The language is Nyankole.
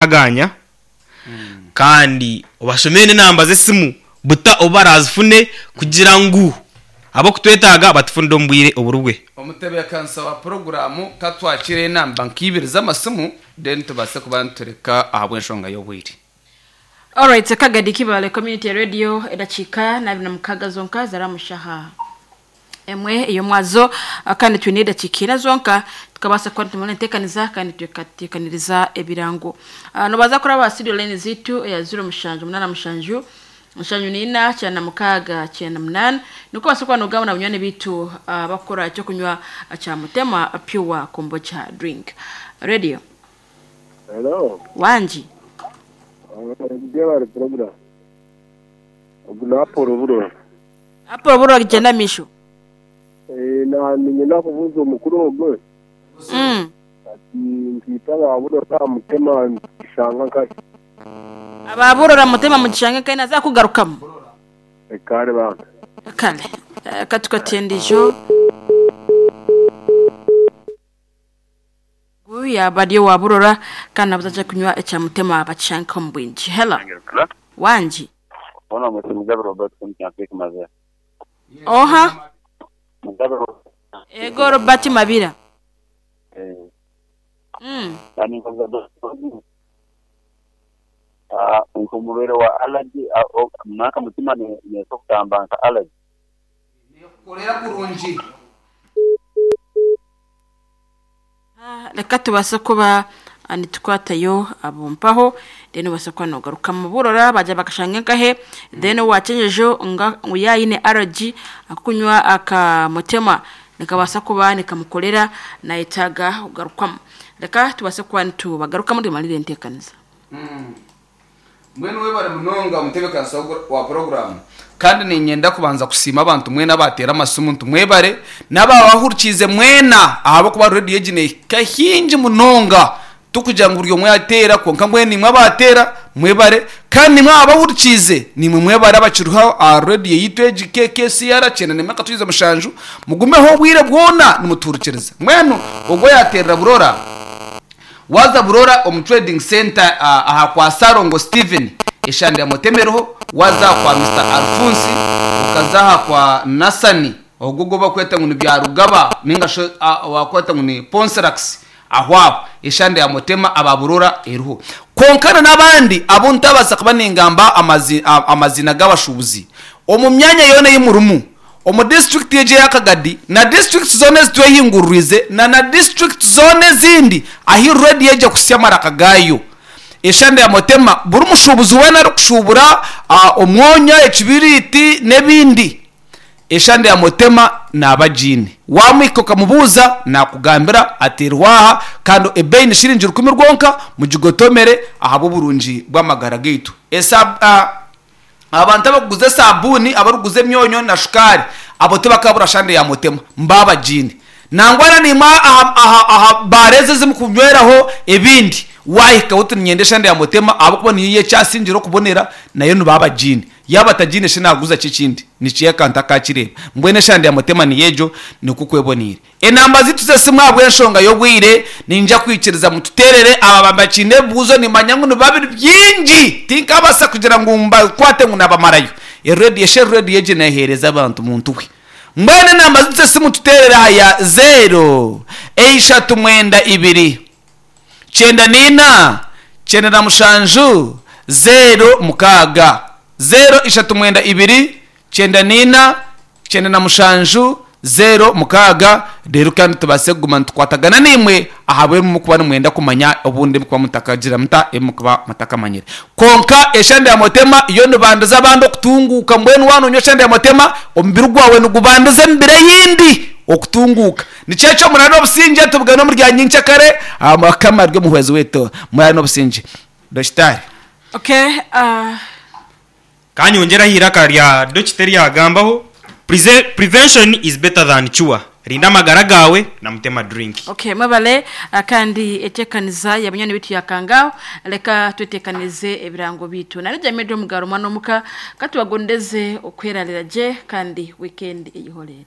Ganya kandi obashomere n'enamba z'esimu buta obu baraazifune kugira ngu ab'okutwetaaga batufunire omu bwire oburi bwe. Omutebeekanisa wa puroguraamu ka twakire enamba nka ibiri z'amasimu then tubaase kuba nitureka ahabw'enshonga y'obwire. Alright, Kagadi Kibale Community Radio edakiika n'abiri na mukaaga zonka zari omu shaaha emwe ey'omwazo kandi twine edakiika ina zonka tukabaasa kuba nitumara enteekaniza kandi tukateekaniriza ebirango. Ah, Nobaasa kuraba aha studio line zaitu eya 0787 74 96 98 nikwo obaase kuba nogamba na banywani baitu abakukora ekyokunywa kya Mutema Pure Kombucha Drink. Radio. Hello. Wangi. Jebare program. Ogu ni Apollo Burora. Apollo Burora gyenda amaisho. Eh, na niinyenda kubuuza omukuru ogwo ati nkaitwe aba Burora aha Mutema nitukishanga nkahi? Aba Burora Mutema mukishange nkahi naza kugarukamu. Kare bambi. Kare. Ka tukwate endiijo. Ogu yaaba ari owa Burora kandi nabuza aje kunywa ekya Mutema bakishange omu bwingi. Hello. Wangi. Ona mwete Mugabe Robert Kyampeke Mazera. Oha? Mugabe Robert. Ego Robert Mabira. Eh. Mm. Kandi nkoza ah nkumurwere wa allergy nanka mutima ne kutamba nka allergy. Nekukorera kurungi. Reka tubaase kuba nitukwatayo abo mpaho then obaase kuba nogarukamu burora bagira bakashanga nkahe then owakyenyejo nga ngu yaayine allergy akukunywa aka mutema nikabaasa kuba nikamukorera nayetaaga kugarukwamu. Reka tubaase kuba nitubagarukamu tumarire enteekaniza. Mbwenu webare munonga omutebeekanisa wa puroguraamu. Kandi niinyenda kubanza kusiima abantu mwena abaateera amasimu nti mwebare, n'abaabahurikiize mwena ahabw'okuba reediyo egi neehika haingi munonga. Tikugira ngu buri omwe yaateera kwonka mbwenu imwe abaateera mwebare, kandi naimwe ababahurikiize naimwe mwebare abakiriho aha reediyo yaitu egi KKCR 91.7 mugumeho obwire bwona nimutuhurikiriza. Mbwenu ogwo yaateerera Burora, Waaza Burora omu Trading Centre aha kwa Ssalongo Steven eshande ya Mutema eriho, waaza aha kwa Mister Alphonse, okaza aha kwa Nasani ogwo ogu bakweta ngu ni Byarugaba ninga shi owakweta ngu ni Ponsirax aho aho eshande ya Mutema aba Burora eriho. Kwonka na n'abandi abu ntabaasa kuba ningamba amaziina g'abashuubuzi omu myanya yoona ei murimu Omu disiturikiti egi eya Kagadi na disiturikiti zoona ezitwehinguririize na na disiturikiti zoona ezindi ahi rediyo egi ekuhitsya amaraka gaayo. Eshande ya Motema buri mushuubuzi weena arikushuubura omwonyo, ekibiriiti n'ebindi, eshande ya Motema naaba agiine. Waamuhika okamubuuza naakugambira ati eriho aha kandi ebeeyi ni shiringi rukumi rwonka mugigotomere ahabw'oburungi bw'amagara gaitu. Abantu abarikuguza esaabuuni, abarikuguza emyonyo na shukaari, abo tibakaabura shande ya Mutema. Mbaabagiine. Nangwa na naimwe aha, aha, aha baara ezi ezi mukunyweraho ebindi, waahikaho oti niinyenda eshande ya Mutema ahabw'okuba niyo ei ekyasingire okubonera, nayo nibaabagiine. Yaaba atagiine shi naaguza ki ekindi? Nikiha akantu akaakireeba. Mbwenu eshande ya Mutema niyo egyo, nikwo kweboneire. Enamba zaitu z'esimu ahabw'enshonga y'obwire, niinyija kwikiriza mututeerere aba abakiine ebibuuzo nimmanya ngu nibiba biri bingi tinkabaasa kugira ngu mbakwate ngu nabamarayo. Ereediyo shi ereediyo egi neeheereza abantu muntu we. Mbwenu enamba zaitu z'esimu tuteerere aha ya zeero eishatu mwenda ibiri 94 97 06, 0392 94 97 06, reero kandi tubaase kuguma nitukwatagana naimwe ahabw'ebi murikuba nimwenda kumanya obundi ebi murikuba mutakagira muta ebi murikuba mutakamanyire. Kwonka eshande ya Mutema yo nibandiza abandi okutunguuka mbwenu waaba nonywa eshande ya Mutema omubiri gwawe nigubandiza emibiri eyindi okutunguuka. Nikyo ekyo muraare n'obusingye tubugane omuri rya nyenkyakare aha Mukama ari omuhwezi waitu. Muraare n'obusingye. Dokitaari. Okay, ah. Ka nyongyere aha iraka rya dokita eri yaagambaho, Prevention is better than cure, rinda amagara gaawe na Mutema Drink. Okay, mwebale kandi etekaniza ya banywani bitu yakangaho reka twetekanize ebirango bitu nari Jamil Omugaro omwana omuka katubagondeze okwerarira gye kandi weekend eyihorere.